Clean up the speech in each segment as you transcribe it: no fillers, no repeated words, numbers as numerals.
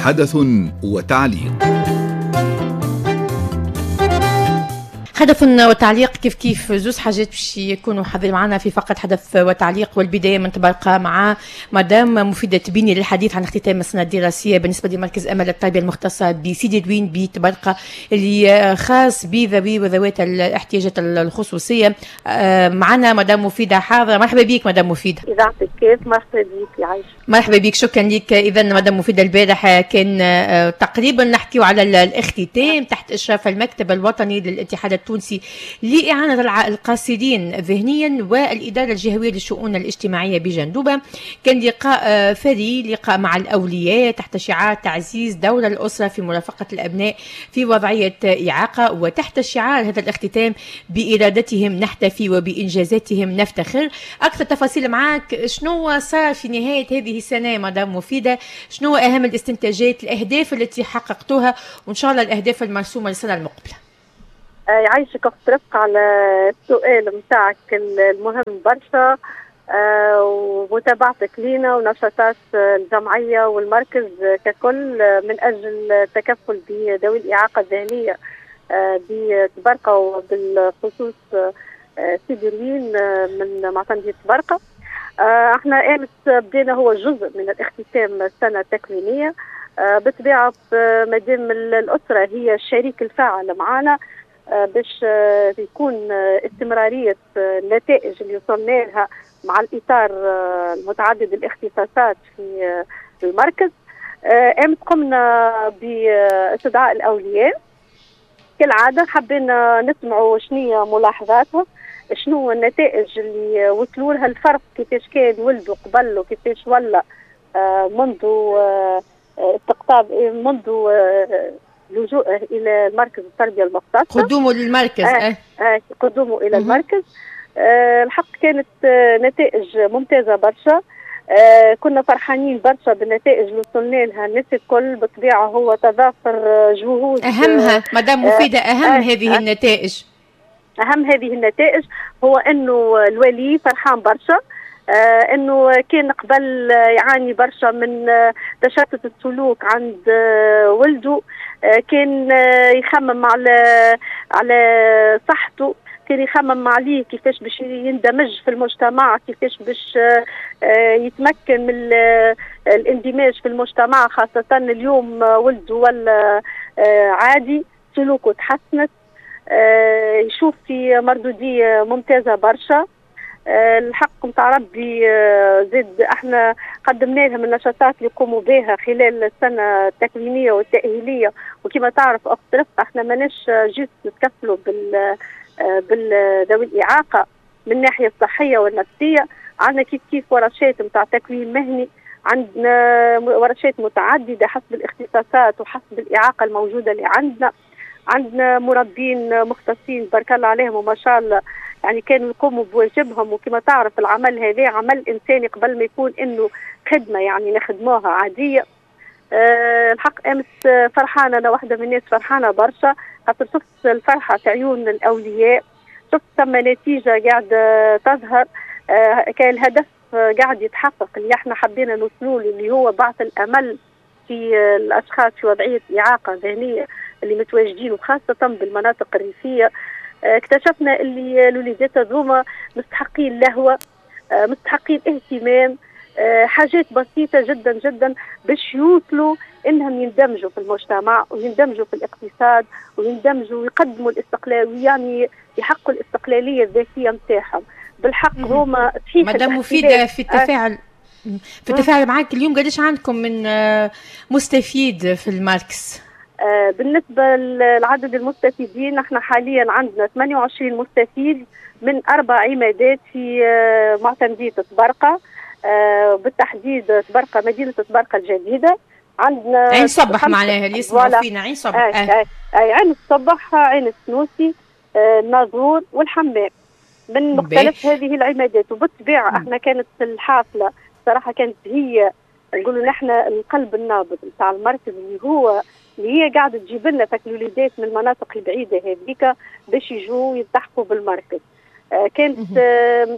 حدث وتعليق. حدث وتعليق كيف كيف زوز حاجات باش يكونوا حاضرين معنا في فقط حدث وتعليق، والبداية من تبقى مع مدام مفيدة تبيني للحديث عن اختتام السنة الدراسية بالنسبة لمركز امل التربية المختصة بسيدي دوين بطبرقه اللي خاص بذوي وذوات الاحتياجات الخصوصية. معنا مدام مفيدة حاضره، مرحبا بك مدام مفيدة. اذاعة الكاف، مرحبا بك يعيش. مرحبا بك، شكرا لك. اذا مدام مفيدة، البارح كان تقريبا نحكيو على الاختتام تحت اشراف المكتب الوطني للاتحاد التونسي لإعانة القاصرين ذهنيا والإدارة الجهوية للشؤون الاجتماعية بجندوبة. كان لقاء ثري، لقاء مع الأولياء تحت شعار تعزيز دور الأسرة في مرافقة الأبناء في وضعية إعاقة، وتحت شعار هذا الاختتام بإرادتهم نحتفي وبإنجازاتهم نفتخر. أكثر تفاصيل معاك، شنو صار في نهاية هذه السنة مدام مفيدة؟ شنو أهم الاستنتاجات، الأهداف التي حققتوها، وإن شاء الله الأهداف المرسومة للسنة المقبلة؟ يعيشك اخت رفقة على السؤال نتاعك المهم برشا، ومتابعتك لينا ونشاطات الجمعية والمركز ككل من أجل التكفل بذوي الإعاقة الذهنية بطبرقة، وبالخصوص سيدي روين من معتمدية طبرقة. احنا امس بدينا هو جزء من الاختتام السنة التكوينية. بالطبيعة مادام الأسرة هي الشريك الفاعل معنا باش يكون استمرارية النتائج اللي وصلنا لها مع الإطار المتعدد الاختصاصات في المركز. أمس قمنا باستدعاء الأولياء كالعادة، حبينا نسمعوا شنية ملاحظاتهم، شنو النتائج اللي وصلوا لها، الفرق كيفاش كان ولدوا قبل وكيفاش ولا منذ استقطاب، منذ لجوءه الى المركز التربية المختصة، قدومه للمركز. قدومه الى المركز. الحق كانت نتائج ممتازة برشا. كنا فرحانين برشا بالنتائج اللي وصلنا لها الناس الكل. بالطبيعة هو تضافر جهود. اهمها مدام مفيدة، اهم هذه النتائج، اهم هذه النتائج هو انه الولي فرحان برشا، انه كان قبل يعاني برشا من تشتت السلوك عند ولده، كان يخمم على صحته، كان يخمم عليه كيفاش باش يندمج في المجتمع، كيفاش باش يتمكن من الاندماج في المجتمع، خاصة اليوم ولده ولا عادي، سلوكه تحسنت، يشوف في مردودية ممتازة برشا. الحق نتاع ربي زاد احنا قدمنا لهم النشاطات اللي يقوموا بها خلال السنة التكوينيه والتاهيليه، وكما تعرف اخت رفقه احنا ماناش juste نتكفلوا بالذوي الاعاقة من الناحية الصحية والنفسية، عندنا كيف كيف ورشات نتاع تكوين مهني، عندنا ورشات متعددة حسب الاختصاصات وحسب الاعاقة الموجودة اللي عندنا. عندنا مربين مختصين بارك الله عليهم وما شاء الله، يعني كانوا يقوموا بواجبهم. وكما تعرف العمل هذا عمل إنساني قبل ما يكون إنه خدمة، يعني نخدموها عادية. الحق أمس فرحانة، أنا واحدة من الناس فرحانة برشا، خاطر شفت الفرحة في عيون الأولياء، شفت ثم نتيجة قاعدة تظهر، كان الهدف قاعد يتحقق اللي احنا حبينا نوصلوا له، اللي هو بعث الأمل في الأشخاص في وضعية إعاقة ذهنية اللي متواجدين، وخاصة بالمناطق الريفية. اكتشفنا اللي الوليدات هذوما مستحقين لهوة، مستحقين اهتمام، حاجات بسيطة جدا جدا باش يوصلوا انهم يندمجوا في المجتمع ويندمجوا في الاقتصاد ويندمجوا ويقدموا الاستقلال، يعني يحققوا الاستقلالية الذاتية نتاعهم. بالحق هما صحيح. مدام مفيدة، في التفاعل في التفاعل معاك اليوم، قداش عندكم من مستفيد في المركز؟ بالنسبة لعدد المستفيدين، نحن حاليا عندنا 28 مستفيد من 4 عمادات في معتمدية طبرقة، بالتحديد طبرقة، مدينة طبرقة الجديدة. عندنا عين صبح، معناها اللي يسمعوا فينا عين صبح. أي عين الصبح، عين السنوسي، الناظور والحمام، من مختلف هذه العمادات. وبالطبيعة احنا كانت الحافلة صراحة كانت هي نقولوا نحن القلب النابض نتاع المركز، اللي هو اللي هي قاعدة تجيب لنا الوليدات من المناطق البعيدة هذيك باش يجوا يلتحقوا بالمركز. كانت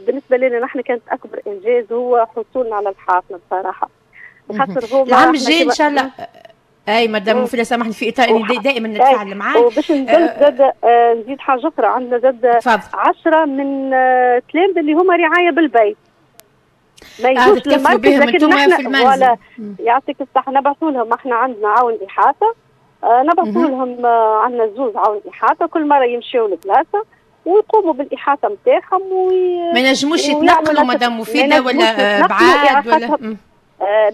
بالنسبة لنا نحن كانت اكبر انجاز هو حصولنا على الحافلة بصراحة. خاطر هو العام الجاي ان شاء الله. اي مدام مفيدة سامحني في اطار اني دائما نتفاعل معاك. وباش نزيد زاد نزيد حاجة اخرى، عندنا زاد 10 من تلامذه اللي هما رعاية بالبيت، ما يجوش للمركز، لكن نحن ولا يعطيك الصحة نبعثوا لهم. احنا عندنا عون احاطة، نبعثوا لهم، عندنا زوز عون احاطة، كل مرة يمشيوا لبلاصه ويقوموا بالاحاطه نتاعهم. ما ينجموش يتنقلوا مدام مفيدة ولا بعاد ولا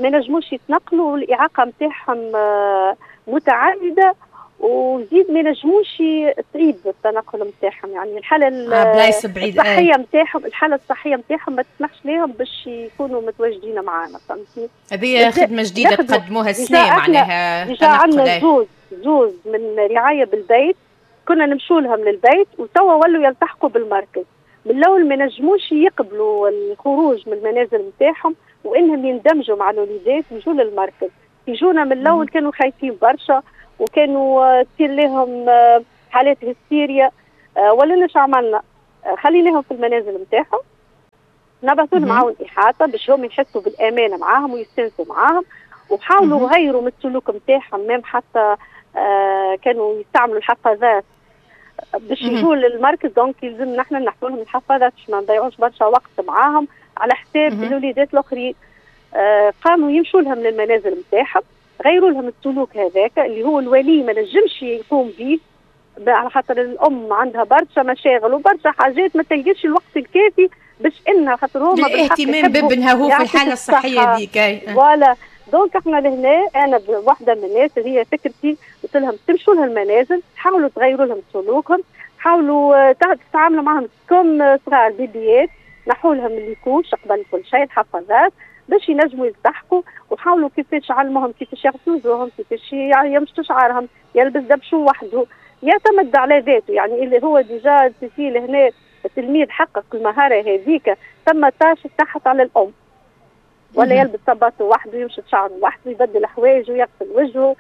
ما نجموش يتنقلوا، والاعاقه نتاعهم متعددة، وزيد ما نجموش صعيب التنقل نتاعهم، يعني الحالة الصحية نتاعهم، الحالة الصحية نتاعهم ما تسمحش لهم باش يكونوا متواجدين معنا، فهمتي؟ هذه خدمة جديدة تقدموها السنة معناها. déjà عندنا زوز من رعاية بالبيت، كنا نمشوا لهم للبيت، وتوا ولوا يلتحقوا بالمركز. من الاول ما نجموش يقبلوا الخروج من المنازل نتاعهم وانهم يندمجوا مع الوليدات ويجوا للمركز. يجونا من الاول كانوا خايفين برشا، وكانوا تصير لهم حالات هستيريا. ولينا شو عملنا؟ خليناهم في المنازل نتاعهم، نبعثوا لهم عون احاطة باش هم يحسوا بالامان معاهم ويستانسوا معاهم، وحاولوا غيروا من السلوك نتاعهم، même حتى كانوا يستعملوا الحفاظات باش يجوا للمركز. donc يلزم نحن نحطوا لهم الحفاظات باش ما نضيعوش برشا وقت معاهم على حساب الوليدات الاخرين. قاموا يمشوا لهم للمنازل نتاعهم، غيروا لهم السلوك هذاك اللي هو الولي ما نجمش يقوم به، على خاطر الام عندها برشا مشاغل وبرشا حاجات، ما تلقاش الوقت الكافي باش انها خاطر هما الاهتمام بابنها هو في الحالة الصحية ذيك. voilà donc احنا لهنا انا واحدة من الناس اللي هي فكرتي قلت لهم تمشوا لها المنازل، حاولوا تغيروا لهم سلوكهم، حاولوا تتعاملوا معهم comme صغار بيبيات، نحوا لهم les couches قبل كل شيء، الحفاظات باش ينجموا يلتحقوا، وحاولوا كيفاش علموهم كيفاش يغسلوا وجوههم، كيفاش يمشطوا شعرهم، يلبس دبشو وحده، يعتمد على ذاته. يعني اللي هو déjà تسيل هنا التلميذ حقق المهارة هذيك، ثم tâche تحت على الام، ولا يلبس صباطه وحده، يمشط شعره وحده، يبدل حوايجه، يغسل وجهه،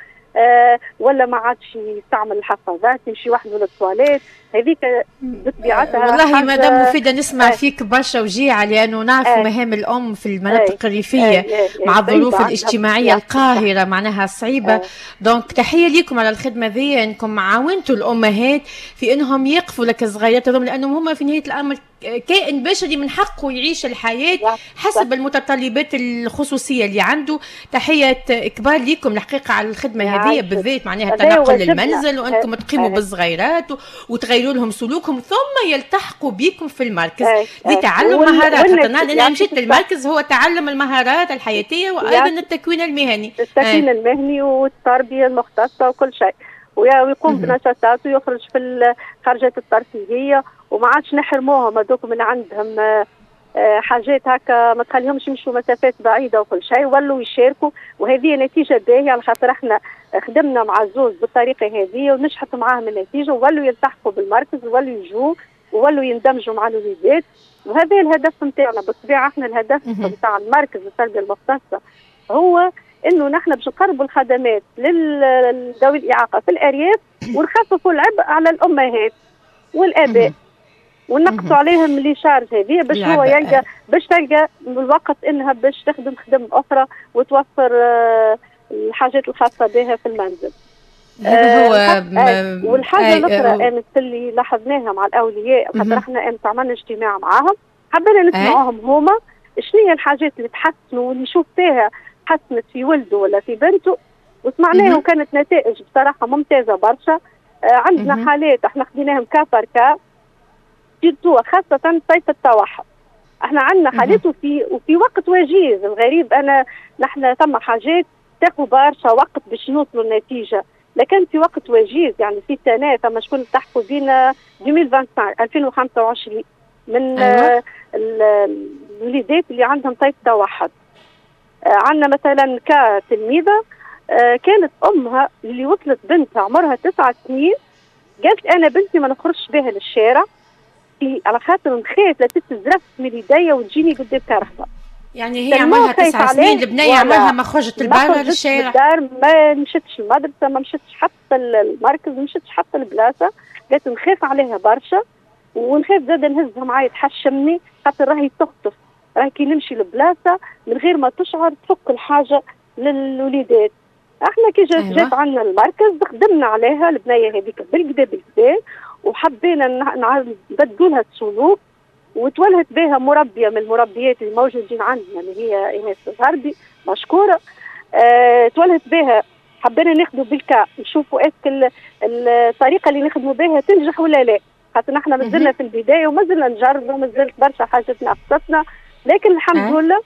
ولا ما عادش يستعمل الحفاظات، يمشي وحده للتواليت. هذيك بطبيعتها. والله مدام مفيدة نسمع فيك برشا وجيعة، لأنه نعرف مهام الأم في المناطق الريفية مع الظروف الاجتماعية القاهرة معناها صعيبة. donc تحية لكم على الخدمة ذي، أنكم عاونتوا الأمهات في أنهم يقفوا لك الصغيرات هذوم، لأنهم هما في نهاية الأمر كائن بشري من حقه يعيش الحياة حسب المتطلبات الخصوصية اللي عنده. تحية كبار لكم الحقيقة على الخدمة هذه بالذات، معناها التنقل للمنزل وأنكم تقيموا بالصغيرات وتغيروا لهم سلوكهم ثم يلتحقوا بكم في المركز لتعلم مهارات. أنا مشيت للمركز هو تعلم المهارات الحياتية وأيضا التكوين المهني، التكوين المهني والتربية المختصة وكل شيء، ويقوم بنشاطات ويخرج في الخرجات الترفيهية، وما عادش نحرموهم هذوك من عندهم حاجات هكا، ما تخليهمش يمشوا مسافات بعيدة وكل شيء، ولوا يشاركوا. وهذه نتيجة باهيه على خاطر احنا خدمنا مع الزوز بالطريقة هذه ونجحت معاهم النتيجة، وولوا يلتحقوا بالمركز وولوا يجوا وولوا يندمجوا مع الوليدات. وهذا الهدف نتاعنا بالطبيعة. احنا الهدف نتاع المركز التربية المختصة هو انه نحن باش نقربوا الخدمات لذوي الاعاقة في الارياف، ونخففوا العبء على الامهات والاباء، ونقصوا عليهم les charges هذه باش هو يلقى، باش تلقى الوقت انها باش تخدم خدم اخرى وتوفر الحاجات الخاصة بها في المنزل. هذا هو. والحاجة الاخرى امس اللي لاحظناها مع الاولياء، خاطر احنا امس عملنا اجتماع معاهم، حبينا نسمعوهم هما شنو هي الحاجات اللي تحسنوا واللي يشوف فيها حسنت في ولده ولا في بنته، وسمعناها وكانت نتائج بصراحة ممتازة برشا. عندنا حالات احنا خديناهم cas par cas، surtout خاصة طيف التوحد. احنا عندنا حالات وفي وقت وجيز. الغريب انا نحن ثم حاجات تاخذ برشا وقت باش نوصلوا النتيجة، لكن في وقت وجيز، يعني في سنة ثم شكون التحقوا بينا 2025 من الوليدات اللي عندهم طيف توحد. عندنا مثلا كتلميذه كانت امها اللي وصلت بنتها عمرها 9 سنين، قالت انا بنتي ما نخرجش بها للشارع على خاطر نخاف لا تتزرف من يديا وتجيني قدام كرهبه. يعني هي عمرها 9 سنين، البنية عمرها ما خرجت البرا للشارع، الدار ما مشتش المدرسة، ما مشتش حتى المركز، ما مشتش حتى البلاصة. قالت نخاف عليها برشا ونخاف زاد نهزها معايا تحشمني، خاطر راهي تخطف، راهي كي نمشي لبلاصه من غير ما تشعر تفك الحاجة للوليدات. احنا كي جات عندنا المركز خدمنا عليها البنية هذيك بالكدا بالكدا، وحبينا نبدلوا لها السلوك، وتولهت بها مربيه من المربيات الموجودين عندنا اللي هي ايناس الغربي مشكورة. تولهت بها، حبينا ناخذوا بال cas نشوفوا est-ce que الطريقة اللي نخدموا بها تنجح ولا لا، خاطر نحن مازلنا في البداية ومازلنا نجربوا، مازلت برشا حاجات ناقصتنا، لكن الحمد لله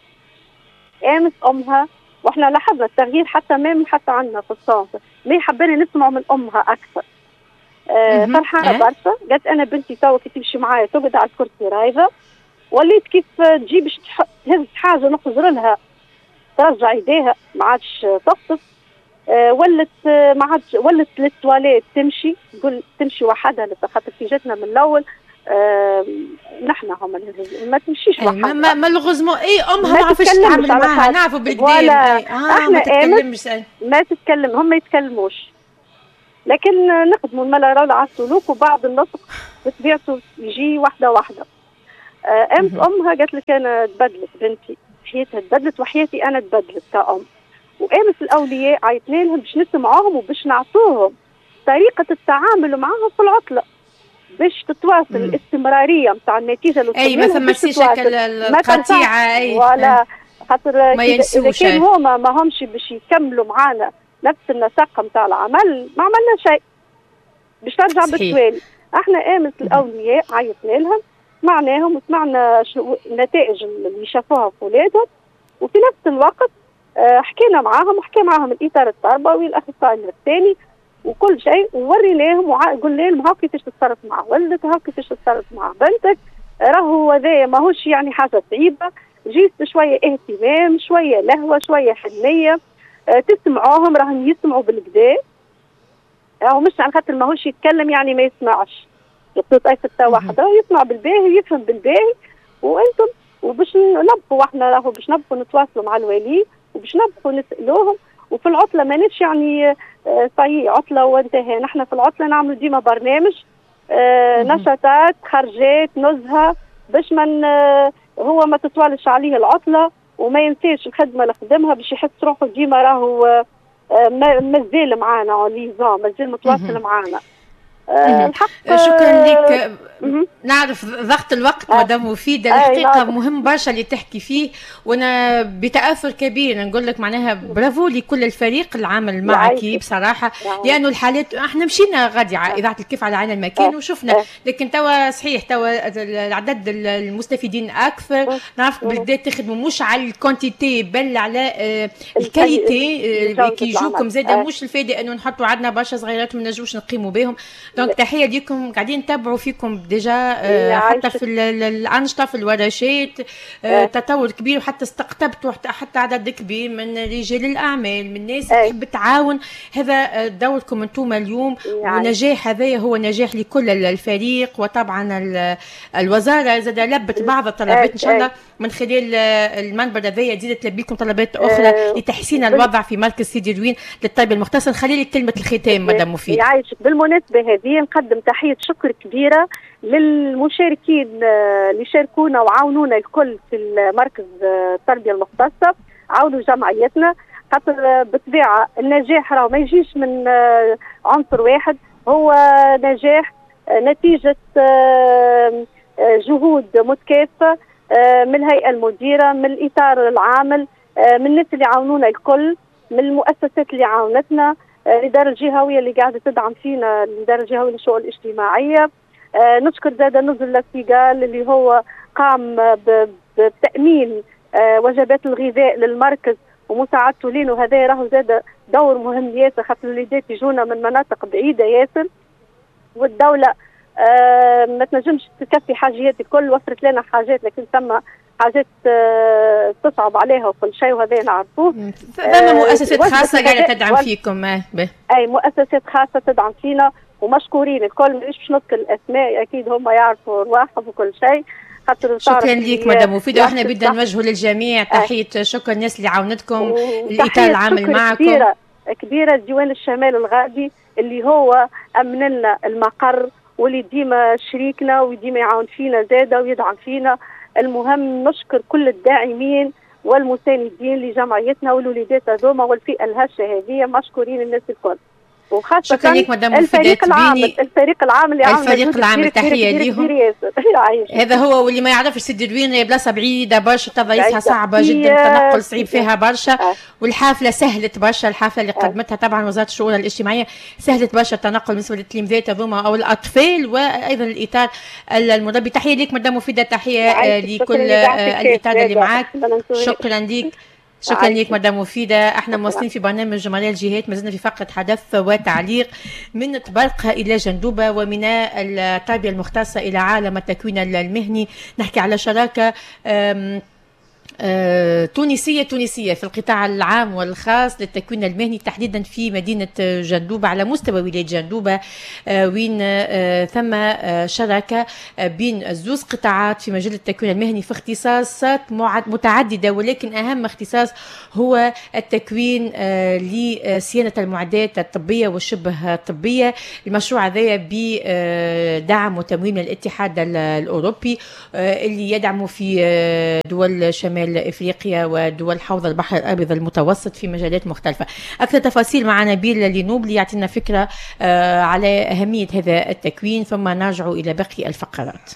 امس امها واحنا لاحظنا التغيير حتى même حتى عندنا في ال centre، mais حبينا نسمعوا من امها اكثر. فرحانة برشا، قالت انا بنتي توا كي تمشي معايا تقعد على الكرسي رايضه، وليت كيف تجي باش تهز حاجة نخزر لها ترجع يديها ما عادش تقصف. ولت ما عادش ولت للتواليت تمشي، تقول تمشي وحدها، خاطر كي جاتنا من الاول نحن هما ما تمشيش وحدها. ما malheureusement اي امها ما عرفتش تتعامل معاها، نعرفوا بالكدا احنا ما تتكلمش، ما تتكلم، هم ما يتكلموش، لكن نخدموا الملا على السلوك وبعض النطق بطبيعته يجي واحدة واحدة. امس امها قالت لك انا تبدلت بنتي، حياتها تبدلت وحياتي انا تبدلت كأم. وامس الاولياء عيطنا لهم باش نسمعوهم وباش نعطوهم طريقه التعامل معاهم في العطلة باش تتواصل الاستمرارية نتاع النتيجة اللي اي ما ثماش شكل القطيعة اي ولا خاطر اذا كان هما ما همش باش يكملوا معانا نفس النسق نتاع العمل ما عملنا شيء، باش ترجع بالتوالي. احنا امس الاولياء عيطنا لهم، سمعناهم وسمعنا النتائج اللي شافوها في ولادهم، وفي نفس الوقت حكينا معاهم وحكي معاهم الاطار التربوي الاخصائي النفساني وكل شيء، ووريناهم وقلنا لهم هاو كيفاش تتصرف مع ولدك، هاو كيفاش تتصرف مع بنتك، راهو هذايا ماهوش يعني حاجة صعيبة، juste شوية اهتمام، شوية لهوه، شوية حنيه، تسمعوهم راهم يسمعوا بالكدا، راهو مش على خاطر ماهوش يتكلم يعني ما يسمعش، يقول اي ستة واحد راهو يسمع بالباهي ويفهم بالباهي. وانتم وباش نبقوا احنا راهو باش نبقوا نتواصلوا مع الولي وباش نبقوا نسالوهم. وفي العطلة ماناش يعني صحيح عطله وانتهى، نحن في العطلة نعملوا ديما برنامج نشاطات، خرجات، نزهه، باش من هو ما تطوالش عليه العطلة وما ينساش الخدمة اللي خدمها، باش يحس روحه ديما راهو مازال معانا liaison، مازال متواصل معانا. الحق شكرا لك. نعرف ضغط الوقت مدام مفيدة، الحقيقة مهم برشا اللي تحكي فيه، وانا بتاثر كبير نقول لك معناها برافو لكل الفريق العامل معك بصراحة، لانه الحالات احنا مشينا غادي على اذاعة الكيف على عين المكان وشفنا، لكن توا صحيح توا العدد المستفيدين اكثر، نعرف بالذات تخدموا مش على ال quantité بل على ال qualité كي يجوكم زاده، مش الفائدة انه نحطوا عندنا برشا صغيرات وما نجموش نقيموا بهم. donc تحية ليكم، قاعدين نتابعوا فيكم déjà حتى في الانشطة في الورشات، تطور كبير، وحتى استقطبتوا حتى عدد كبير من رجال الاعمال، من ناس تحب تعاون. هذا دوركم انتم اليوم، ونجاح هذا هو نجاح لكل الفريق، وطبعا الوزارة زاد لبت بعض الطلبات ان شاء الله من خلال المنبر هذايا تزيد تلبي لكم طلبات اخرى لتحسين الوضع في مركز سيدي روين للطيب المختصر. خلي لك كلمة الختام مدام مفيد. يعيشك. بالمناسبة هذه نقدم تحية شكر كبيرة للمشاركين اللي شاركونا وعاونونا الكل في المركز التربية المختصة، عاونوا جمعيتنا، خاطر بالطبيعة النجاح راه ما يجيش من عنصر واحد، هو نجاح نتيجة جهود متكافئة من الهيئة المديرة، من الاطار العامل، من الناس اللي عاونونا الكل، من المؤسسات اللي عاونتنا، الادارة الجهوية اللي قاعدة تدعم فينا، الادارة الجهوية للشؤون الاجتماعية. نشكر زاد نزل لاسيغال اللي هو قام بتامين وجبات الغذاء للمركز ومساعدته لينا، وهذا راهو زاد دور مهم ياسر، خاطر الوليدات يجونا من مناطق بعيدة ياسر، والدولة ما تنجمش تكفي حاجيات الكل، وفرت لنا حاجات لكن ثم حاجات تصعب عليها وكل شيء، وهذا نعرفوه. ثم مؤسسات خاصة قاعدة تدعم فيكم. اي مؤسسات خاصة تدعم فينا ومشكورين الكل، مانيش باش نذكر الاسماء، اكيد هم يعرفوا رواحهم وكل شيء. شكرا لك مدام مفيدة، واحنا بدنا نوجهوا للجميع تحية شكر الناس اللي عاونتكم، الاطار العامل معكم. كبيرة كبيرة ديوان الشمال الغربي اللي هو امن لنا المقر واللي ديما شريكنا وديما يعاون فينا زاده ويدعم فينا. المهم نشكر كل الداعمين والمساندين لجمعيتنا والوليدات هذوما والفئة الهشه هذه، مشكورين الناس الكل، وخاصة الفريق العامل، الفريق العامل اللي عامل الفريق العامل، تحية ليهم. هذا هو، واللي ما يعرفش سيدي روينة بلاصة بعيدة برشا، تضاريسها صعبة جدا، التنقل صعيب فيها برشا، والحافلة سهلت برشا، الحافلة اللي قدمتها طبعا وزارة الشؤون الاجتماعية سهلت برشا التنقل بالنسبة للتلاميذات هذوما أو الأطفال وأيضا الإطار المربي. تحية ليك مدام مفيدة، تحية لكل الإطار اللي معاك، شكرا ليك. شكرا لك مدام مفيدة. احنا مواصلين في برنامج جمالية الجهات، ما زلنا في فقرة حدث وتعليق من طبرقة إلى جندوبة ومن التربية المختصة إلى عالم التكوين المهني. نحكي على شراكة تونسية تونسية في القطاع العام والخاص للتكوين المهني، تحديدا في مدينة جندوبة على مستوى ولاية جندوبة، وين ثم شراكة بين زوز قطاعات في مجال التكوين المهني في اختصاصات متعددة، ولكن أهم اختصاص هو التكوين لصيانة المعدات الطبية والشبه الطبية. المشروع هذا بدعم وتمويل من الاتحاد الأوروبي اللي يدعم في دول شمال افريقيا ودول حوض البحر الابيض المتوسط في مجالات مختلفة. اكثر تفاصيل مع نبيل لينوبلي يعطينا فكرة على اهمية هذا التكوين، ثم نرجع الى باقي الفقرات.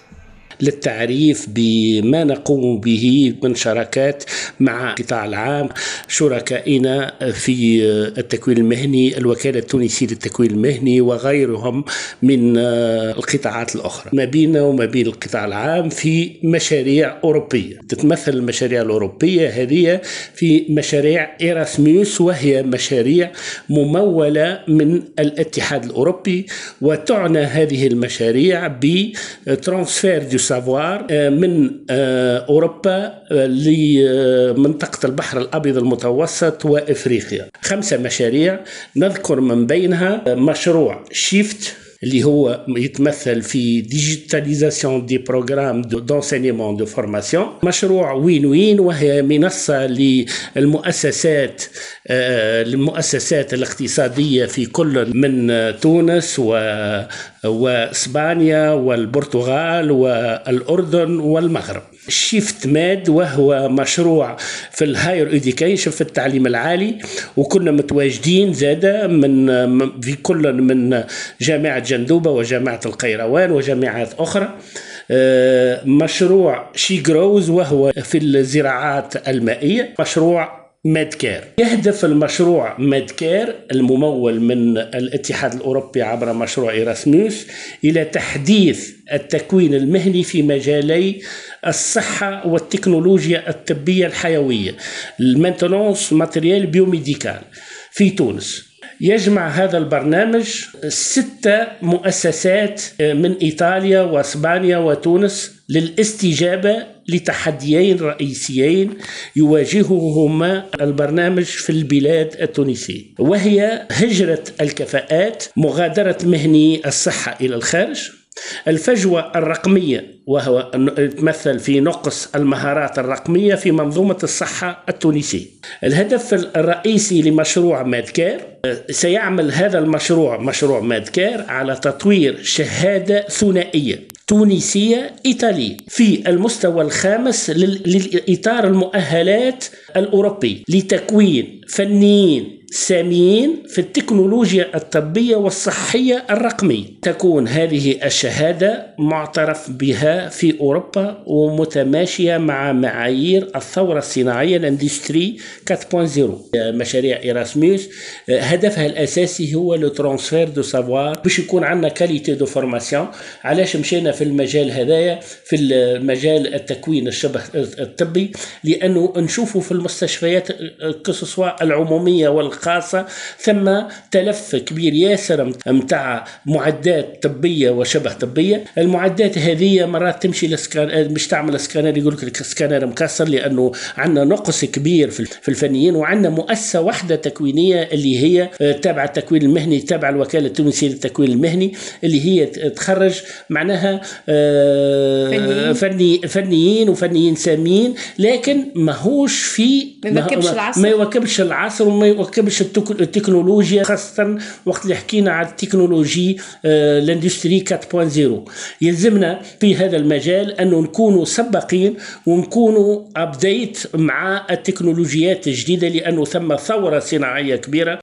للتعريف بما نقوم به من شراكات مع القطاع العام، شركائنا في التكوين المهني، الوكالة التونسية للتكوين المهني وغيرهم من القطاعات الأخرى، ما بيننا وما بين القطاع العام في مشاريع أوروبية. تتمثل المشاريع الأوروبية هذه في مشاريع إيراسموس، وهي مشاريع ممولة من الاتحاد الأوروبي، وتعنى هذه المشاريع ب transfert du savoir من أوروبا لمنطقة البحر الأبيض المتوسط وإفريقيا. 5 مشاريع نذكر من بينها مشروع SHIFT اللي هو يتمثل في digitalisation des programmes d'enseignement de formation، مشروع وين وين وهي منصة للمؤسسات المؤسسات الاقتصادية في كل من تونس واسبانيا والبرتغال والأردن والمغرب. SHIFT Med وهو مشروع في ال higher education في التعليم العالي، وكنا متواجدين زادة من في كل من جامعة جندوبة وجامعة القيروان وجامعات أخرى. مشروع SheGrows وهو في الزراعات المائية. مشروع ميدكير، يهدف المشروع ميدكير الممول من الاتحاد الأوروبي عبر مشروع إيراسموس إلى تحديث التكوين المهني في مجالي الصحة والتكنولوجيا الطبية الحيوية، ال maintenance matériel biomédical في تونس. يجمع هذا البرنامج 6 مؤسسات من إيطاليا وإسبانيا وتونس للاستجابة لتحديين رئيسيين يواجههما البرنامج في البلاد التونسية، وهي هجرة الكفاءات، مغادرة مهني الصحة إلى الخارج، الفجوة الرقمية وهو يتمثل في نقص المهارات الرقمية في منظومة الصحة التونسية. الهدف الرئيسي لمشروع مادكير، سيعمل هذا المشروع مشروع مادكير على تطوير شهادة ثنائية تونسية إيطالية في المستوى الخامس للإطار المؤهلات الأوروبي لتكوين فنيين ساميين في التكنولوجيا الطبية والصحية الرقمية. تكون هذه الشهادة معترف بها في أوروبا ومتماشية مع معايير الثورة الصناعية ال industrie 4.0. مشاريع إيراسموس هدفها الأساسي هو le transfert de savoir باش يكون عندنا qualité de formation. علاش مشينا في المجال هذايا، في المجال التكوين الشبه الطبي؟ لأنه نشوفوا في المستشفيات que ce soit العمومية والخاصة ثم تلف كبير ياسر متاع معدات طبية وشبه طبية. المعدات هذه مرات تمشي لسكان، مش تعمل سكانر يقول لك السكانر مكسر، لأنه عندنا نقص كبير في الفنيين، وعندنا مؤسسة واحدة تكوينية اللي هي تابعة التكوين المهني، تابعة الوكالة التونسية للتكوين المهني، اللي هي تخرج معناها فنيين وفنيين ساميين، لكن ماهوش في ما يواكبش العصر وما يواكبش تواكبش التكنولوجيا، خاصة وقت اللي حكينا على ال technologie l'industrie 4.0. يلزمنا في هذا المجال انه نكونوا سباقين ونكونوا up to date مع التكنولوجيات الجديده، لانه ثم ثورة صناعية كبيره.